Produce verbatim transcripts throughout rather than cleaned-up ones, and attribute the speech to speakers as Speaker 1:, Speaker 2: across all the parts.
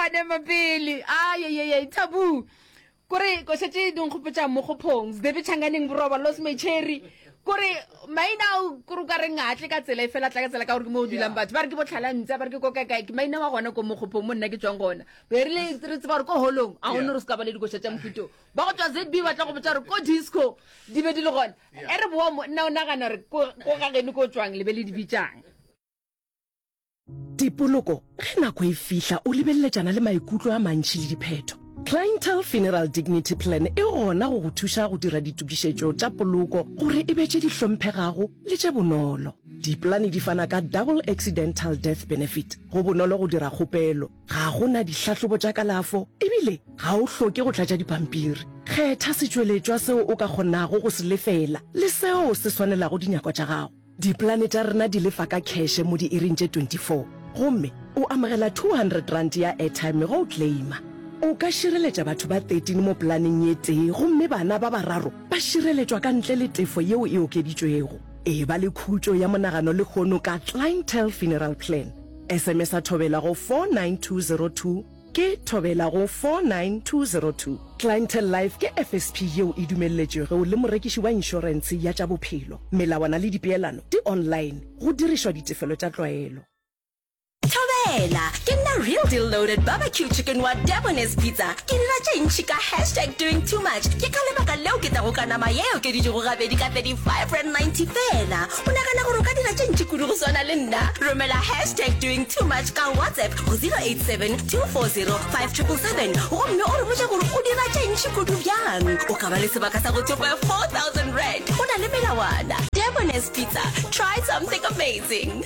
Speaker 1: gone mapele ayeyeye tabu kore ko šetše dinkgopotša mokgophong sedebe tšhanganeng boroba los macheri kore maina ao kore o ka reng a tle ka tsela e fela tla ka tsela ka gore ke mo o dulang batho ba re ke botlhalantse ba re ke ko kaekae ke maina wa gona ko mokgophong mo nna ke tswang gona be re le re tseba gore ko holong a gone re se ka ba le dikoša tša mohuto ba go tswa zb ba tla go botša gore ko disco di be di le gona e re boa mo nna o nagana gore ko ko ga geno ko tswang le be le di bitšang
Speaker 2: Dipoloko, ge nako e fihla o lebeleletšana le maikutlo a mantši le diphetho. Clientele Funeral Dignity Plan e gona go go thuša go dira ditokišetšo tša poloko gore e be tše di hlomphegago le tše bonolo. Dipolane di fana ka Double Accidental Death Benefit. Go bonolo go dira kgopelo, ga go na dihlahlobo tša kalafo ebile ga o hloke go tlatša dipampiri. Kgetha setšweletšwa seo o ka kgonago go se lefela le seo se swanelago dinyakwa tša gago. Dipolane tša rena di lefa ka kheše mo diiring tše twenty four gomme o amogela two hundred rand ya airtime ge o claima. O ka šireletša batho ba thirteen mo polaneng ye tee gomme bana ba bararo ba šireletšwa ka ntle le tefo yeo e okeditšwego. Eba le khutšo ya monagano lehono ka Clientele Funeral Plan. S M S-a Thobela go four nine two zero two. Ke Thobela go four nine two zero two. Clientele Life ke F S P yeo e dumelletšwego le morekiši wa inšorentshe ya tša bophelo. Melawana le dipeelano di online go dirišwa ditefelo tša tlwaelo.
Speaker 3: Thobela, ke nna Real Deal Loaded Barbecue Chicken wa Debonair's Pizza. Ke dira tše ntši ka hashtag doing too much. Ke ka lebaka leo ke tlago ka nama ye e okeditšwego gabedi ka thirty-five rand ninety feela. O nagana gore o ka dira tše ntši kudu go swana le nna? Romela hashtag doing too much ka WhatsApp go zero eight seven two four zero five triple seven gomme o re botše gore o dira tše ntši kudu bjang. O ka ba le sebaka sa go thopa four thousand rand. Go na le melawana. Debonair's Pizza, try something amazing.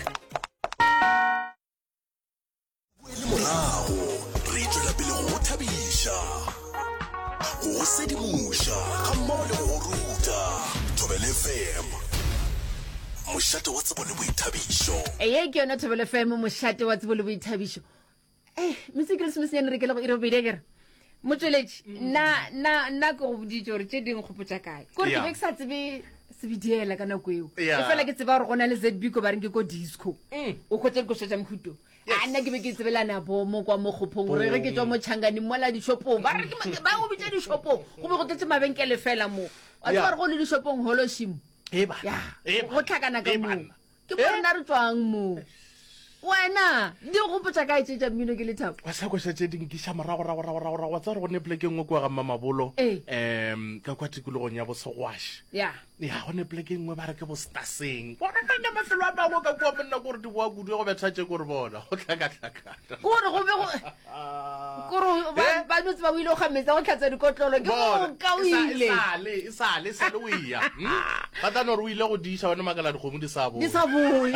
Speaker 4: Boele morago, re tšwela pele go go thabiša, go go sedimoša gammogo le go go ruta. Thobela F M, mošate wa tsebo le boithabišo.
Speaker 1: Eye ke yona Thobela F M, mošate wa tsebo le boithabišo. Eh, Motse Christmas nyane re ke le go ire bobedi akere. Motšweletši, nna nna nna ke go boditše gore tše ding kgopotša kae. Kore ke
Speaker 5: Yeah.
Speaker 1: be ke sa tsebe sebidiela ka nako eo.
Speaker 5: Yeah.
Speaker 1: E fela ke tseba gore go na le Z B ko ba reng ke ko disco.
Speaker 5: Mm.
Speaker 1: O hwetša dikoša tša mohuto. A nna ke be ke tsebelana bomo kwa mokgophong gore ge ke tswa mo Tšhanganeng mola dishopong ba re ke ma- ba go bitša dishopong go be go tletse mabenkele fela mo. Wa tseba
Speaker 5: Yeah.
Speaker 1: gore go le dishopong holoshimo.
Speaker 5: E bana.
Speaker 1: Ya,
Speaker 5: E
Speaker 1: go tlhakana ka
Speaker 5: E
Speaker 1: moo.
Speaker 5: banna.
Speaker 1: Ke mo rena re tswang moo. Wena, di go gopotša kae tše tša mmino ke lethabo?
Speaker 5: Wa sa koša tše di nkiša morago rago rago rago rago wa tseba gore go ne poleke e nngwe kua ga Mmamabolo
Speaker 1: Ee.
Speaker 5: um ka kwa tikologong ya bosegwaše
Speaker 1: Ya.
Speaker 5: Ya go ne poleke e nngwe ba re ke bostaseng bona nna mafelo a mangwe ka kua monna kore di boa kudu go betha tše kore bona go tlhakatlhakana.
Speaker 1: Kore go be go kore ba
Speaker 5: Eh?
Speaker 1: ba no tseba o ile go ga metsi a go tlhatswa dikotlolo ke moka o ile.
Speaker 5: E sale e sale e sale o eya hmm? Ba tla no re o ile go diša bone makala dikgomo di sa boe.
Speaker 1: Di sa boe.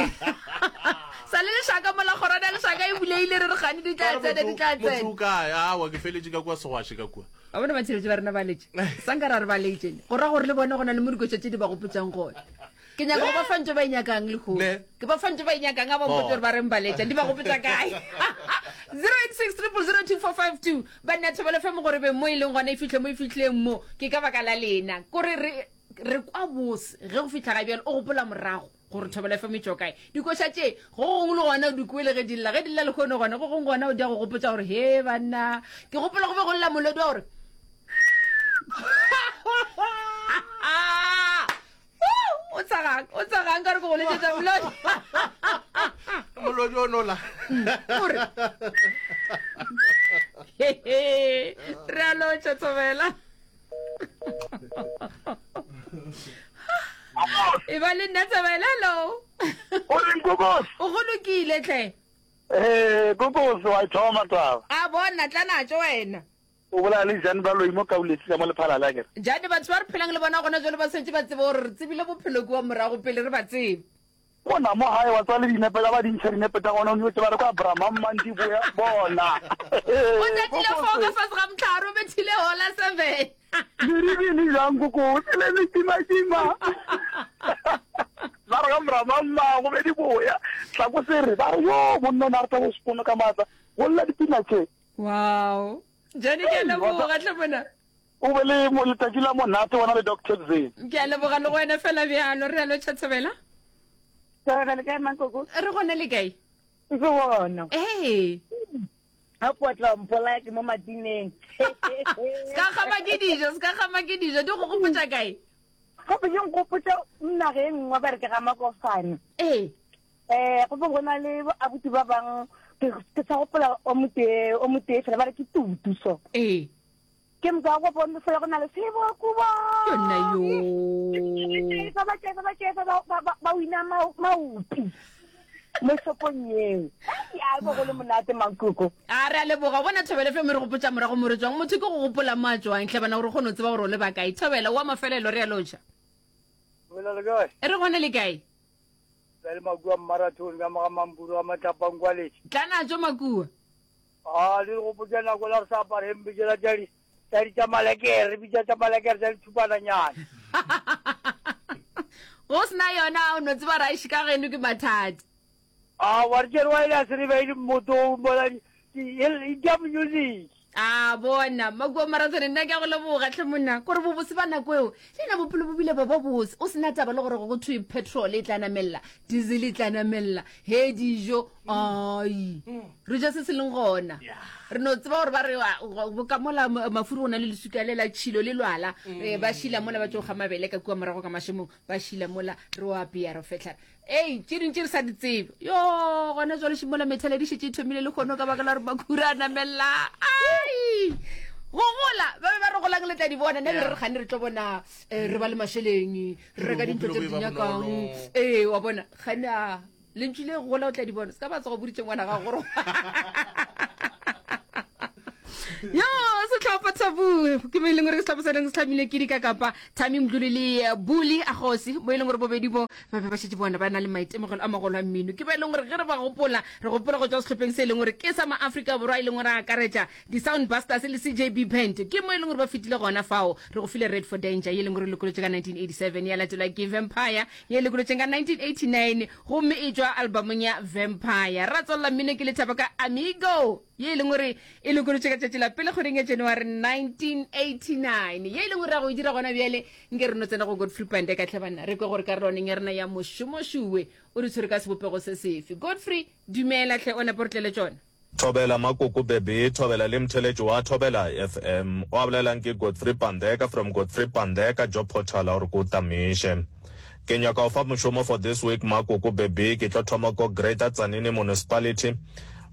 Speaker 1: Sa le lešaka mola kgorwana ya lešaka e buleile re re gane di tla tsena di tla
Speaker 5: motho
Speaker 1: tsena.
Speaker 5: O kae? Awa ke feletše ka kua segwaše ka kua.
Speaker 1: Wa bona batheletši ba rena ba letše. Sanka ra re ba letše. Go ra gore le bone go na le mo dikoša tše di ba gopotšang gona. Ke nyaka go ba fa ntho ba e nyakang lehono.
Speaker 5: Ne.
Speaker 1: Ke ba fa ntho ba e nyakang a ba mpotse gore ba reng ba letša di ba gopotša kae. zero eight six triple zero two four five two banna Thobela F M gore be mo e leng gona e fihle mo e fihlileng mo ke ka baka la lena kore re re kwa bose ge go fihla ga bjale o gopola morago gore Thobela F M e tšwa kae dikoša tše go gongwe le gona o di kwele ge di lla ge di lla lehono gona go gongwe gona o di ya go gopotša gore he banna ke gopola go be go lla molodi wa gore o tsagang o tsagang ka re ke go letsetsa molodi.
Speaker 5: Molodi o nola.
Speaker 1: Ore re a lotša Thobela e ba le nna Thobela hello.
Speaker 6: O reng kokos?
Speaker 1: O go lokile tlhe.
Speaker 6: Eh, kokos wa e thoma taba.
Speaker 1: A bona tla natso wena.
Speaker 6: O bolela le Jane Baloi mo Kauletse ka mo Lephalale akere.
Speaker 1: Jane batho ba re phelang le bona gona jalo ba setse ba tsebe gore re tsebile bophelo kua morago pele re ba tsebe.
Speaker 6: Bona mo gae wa tswa le dinepe tsa ba dintšha dinepe tsa gona o nyotse ba re kwa Brahma Mandi boya bona.
Speaker 1: O tatile fao ka fase ga mohlare o bethile hola seven.
Speaker 6: Meribini jang koko le metima-tima. Ba re ga Brahma mma go be di boya. Tla ko sere ba re yo monna o ne a rata go sepono ka maatla. Go lla dipina tše.
Speaker 1: Wow Jane ke a leboga tlhe mona.
Speaker 6: O be le mo letšatši la monate wena le Doctor Z.
Speaker 1: Ke a leboga le go wena fela bjalo re a lotšha Thobela.
Speaker 7: Thobela le kae mankoko?
Speaker 1: Re gona le kae?
Speaker 7: Ke gona.
Speaker 1: Ee.
Speaker 7: A potla mpolaya ke mo matineng.
Speaker 1: Se ka kgama ke dijo, se ka kgama ke dijo, di go gopotša kae?
Speaker 7: Gape di nkgopotša naga e nngwe ba re ke ga Makofane.
Speaker 1: Ee.
Speaker 7: Eh, go bo go na le bo abuti ba bang ke ke sa gopola o motee o motee fela ba re ke tutu so.
Speaker 1: Ee.
Speaker 7: Ke moka go bone fela go na le sebokubo.
Speaker 1: Yona yo.
Speaker 7: Ba ba tšefa ba tšefa ba ba ba wina maupi. Mo shopong yeo. Ai, bo go le monate mankoko.
Speaker 1: A re a leboga bona Thobela F M re gopotša morago mo re tswang. Motho ke go gopola mo a tswang hle bana gore o kgone go tseba gore o le ba kae. Thobela wa mafelelo re a lotšha.
Speaker 8: Thobela le kae?
Speaker 1: Re gona le kae?
Speaker 8: Re le makua marathon ka moga mampuru a matlapang kwa letse.
Speaker 1: Tla natso makua.
Speaker 8: A le gopotša nako la re sa apare hempe tšela tša di tša di tša malekere, re bitša tša malekere tša dithupananyana.
Speaker 1: Go sena yona o no tseba ra išika geno ke mathata.
Speaker 8: A wa re tšere wa ile a se re beile mmoto mola di di di music.
Speaker 1: A bona makua marathon nna ke a go leboga tlhe monna kore bobose ba nako eo le na bophelo bo bile ba ba bose o sena taba le gore go thwe petrol e tla namella diesel e tla namella he dijo ai re ja se se leng gona re no tseba gore ba re ka mola mafuri go na le lesuka le la tšhilo le lwala ba šila mola ba tšo ga mabele ka kua morago ka mašemong ba šila mola re o apea re fehla ei tše dingwe tše re sa di tsebe yo gona jwale šimola methale di šetše e thomile le kgono ka baka la gore makhura a namella ai go gola ba be ba re golang le tla di bona nna be re re gane re tlo bona re ba le mašeleng re reka dintlo tse re di nyakang ee wa bona gane a lentšu le gola o tla di bona se ka ba tsogo boditše ngwana gago gore yo setlhopha Taboo ke mo e leng gore ke setlhopha se leng se tlhamile ke dikakapa Thami Mdluli le Buli Agosi mo e leng gore bobedi bo ba be ba šetše bona ba na le maitemogelo a magolo a mmino ke ba e leng gore ge re ba gopola re gopola go tšwa sehlopheng se e leng gore ke sa maafrika Borwa e leng gore a akaretša di-Sound Busters le C J B Band ke mo e leng gore ba fetile gona fao re go file Red for Danger ye e leng gore e lokolotše ka nineteen eighty-seven ya latelwa ke Vampire ye e lokolotšeng ka nineteen eighty-nine gomme e tšwa albumong ya Vampire ra tswelela mmino ke lethabo ka Amigo ye e leng gore e lokolotše ka tšatši la pele kgweding ya January nineteen eighty-nine ye e leng gore ra go e dira gona bjale nke re no tsena go Godfrey Pande ka tlhe banna re kwe gore karolwaneng ya rena ya mošomošowe o re tshwere ka sebopego se sefe. Godfrey dumela tlhe o nepo re tlele tšona.
Speaker 9: Thobela Makoko Bebe, Thobela le mtheletši wa Thobela F M. O a bolelang ke Godfrey Pandeka from Godfrey Pandeka Job Portal a gore ko tamiše. Ke nyaka go fa mošomo for this week Makoko Bebe, ke tlo thoma ko Greater Tzaneen Municipality.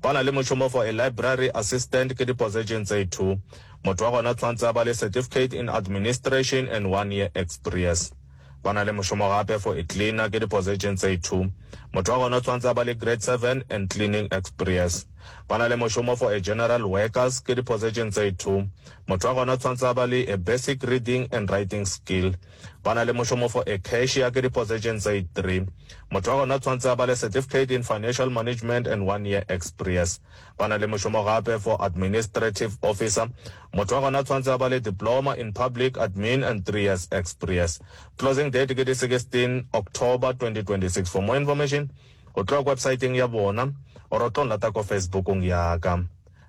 Speaker 9: Ba na le mošomo for a library assistant ke di-position tse two. Motho wa gona tshwantse a ba le certificate in administration and one year experience. Ba na le mošomo gape for a cleaner ke di-position tse two. Motho wa gona tshwantse a ba le grade seven and cleaning experience. Ba na le mošomo for a general workers ke di-position tse two. Motho wa gona tshwantse a ba le a basic reading and writing skill. Ba na le mošomo for a cashier ke di-position tse three. Motho wa gona tshwantse a ba le certificate in financial management and one year experience. Ba na le mošomo gape for administrative officer. Motho wa gona tshwantse a ba le diploma in public admin and three years experience. Closing date ke di sixteen October twenty twenty-six. For more information, o tlo ya websiteng ya bona or o tlo nlata ko Facebookong ya ka.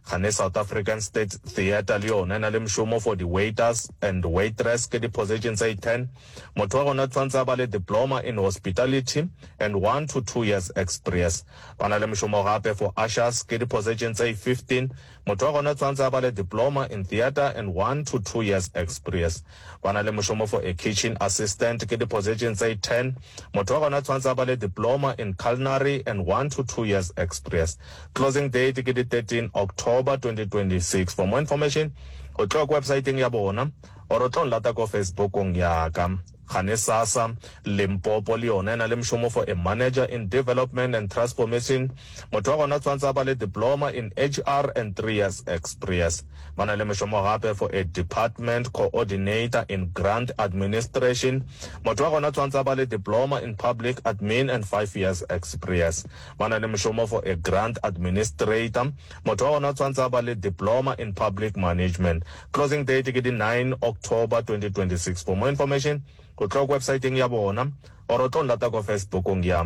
Speaker 9: Gane South African State Theatre le yona e na le mošomo for di-waiters and waitress ke di-position tse ten. Motho wa gona tshwantse a ba le diploma in hospitality and one to two years experience. Ba na le mošomo gape for ushers ke di-position tse fifteen. Motho wa gona tshwantse a ba le diploma in theatre and one to two years experience. Ba na le mošomo for a kitchen assistant ke di-position tse ten. Motho wa gona tshwantse a ba le diploma in culinary and one to two years experience. Closing date ke di thirteen October twenty twenty-six. For more information, o tlo ko websiteng ya bona or o tlo nlata ko Facebookong ya ka. Gane SASSA Limpopo le yona e na le mošomo for a manager in development and transformation. Motho wa gona tshwantse a ba le diploma in H R and three years experience. Ba na le mošomo gape for a department coordinator in grant administration. Motho wa gona tshwantse a ba le diploma in public admin and five years experience. Ba na le mošomo for a grant administrator. Motho wa gona tshwantse a ba le diploma in public management. Closing date ke di nine October twenty twenty-six. For more information, o tlo websiteng ya bona or o tlo nlata ko Facebookong ya.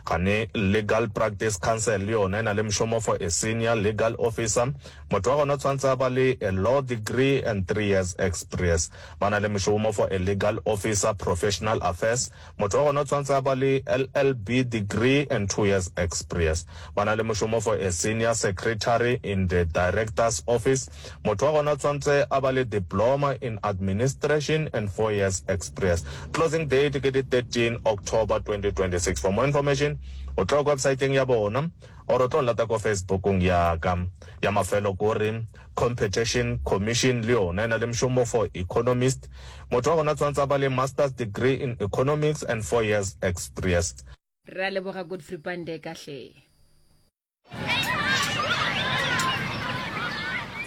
Speaker 9: Gane Legal Practice Council le yona e na le mošomo for a senior legal officer. Motho wa gona o tshwanetse a ba le a law degree and three years experience. Ba na le mošomo for a legal officer professional affairs. Motho wa gona o tshwanetse a ba le LLB degree and two years experience. Ba na le mošomo for a senior secretary in the director's office. Motho wa gona o tshwanetse a ba le diploma in administration and four years experience. Closing date ke di thirteen October twenty twenty six. For more information o tlo ko websiteng ya bona or o tlo nlata ko Facebookong ya ka. Ya mafelo ko re Competition Commission le yona e na le mošomo for economist. Motho wa gona tshwanetse a ba le master's degree in economics and four years experience.
Speaker 1: Re a leboga Godfrey Pandeka hle.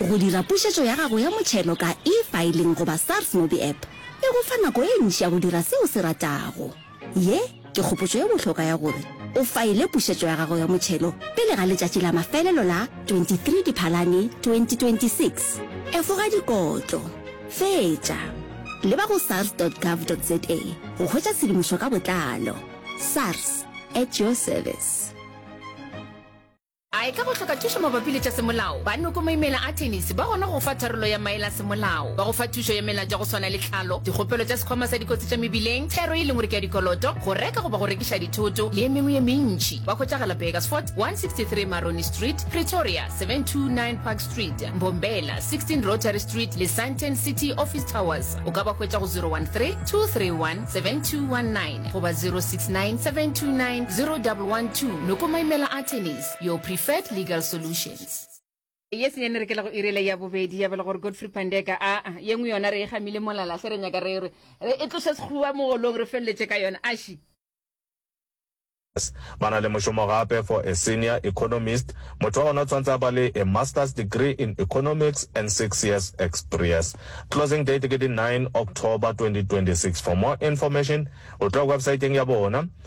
Speaker 3: Go dira pušetšo ya gago ya motšhelo ka eFiling goba SARS MobiApp e go fa nako e ntši ya go dira se o se ratago. Ye ke kgopotšo ye bohlokwa ya gore o faele pušetšo ya gago ya motšhelo pele ga letšatši la mafelelo la twenty three Diphalane twenty twenty six Efoga dikotlo. Fetša. Leba go sars dot gov dot za go hwetša tshedimošo ka botlalo. SARS, at your service.
Speaker 1: A e ka ba o hloka thušo mabapi le tša semolao? Ba Noko Maimela Attorneys ba gona go go fa tharollo ya maele a semolao. Ba go fa thušo ya melato ya go swana le tlhalo, dikgopelo tša sekhwama sa dikotsi tša mebileng, thero e leng gore ke ya dikoloto, go reka goba go rekiša dithoto, le ye mengwe ye mentši. Ba hwetšagala Burgersfort, one sixty three Maroni Street, Pretoria, seven two nine Park Street, Mbombela, sixteen Rotary Street le Sandton City Office Towers. O ka ba hwetša go zero one three, two three one, seven two one nine goba zero six nine, seven two nine, zero double one two. Noko Maimela Attorneys, your preferred legal solutions. Ye senyane re kela go irele ya bobedi ya bela gore Godfrey Pandeka a a ye nngwe yona re e gamile molala hle re nyaka re re e tloše sekgowa mogolong re feleletše ka yona aši.
Speaker 9: Ba na le mošomo gape for a senior economist. Motho wa gona o tshwanetse a ba le a master's degree in economics and six years experience. Closing date ke di nine October twenty twenty six. For more information o tlo websiteng ya bona.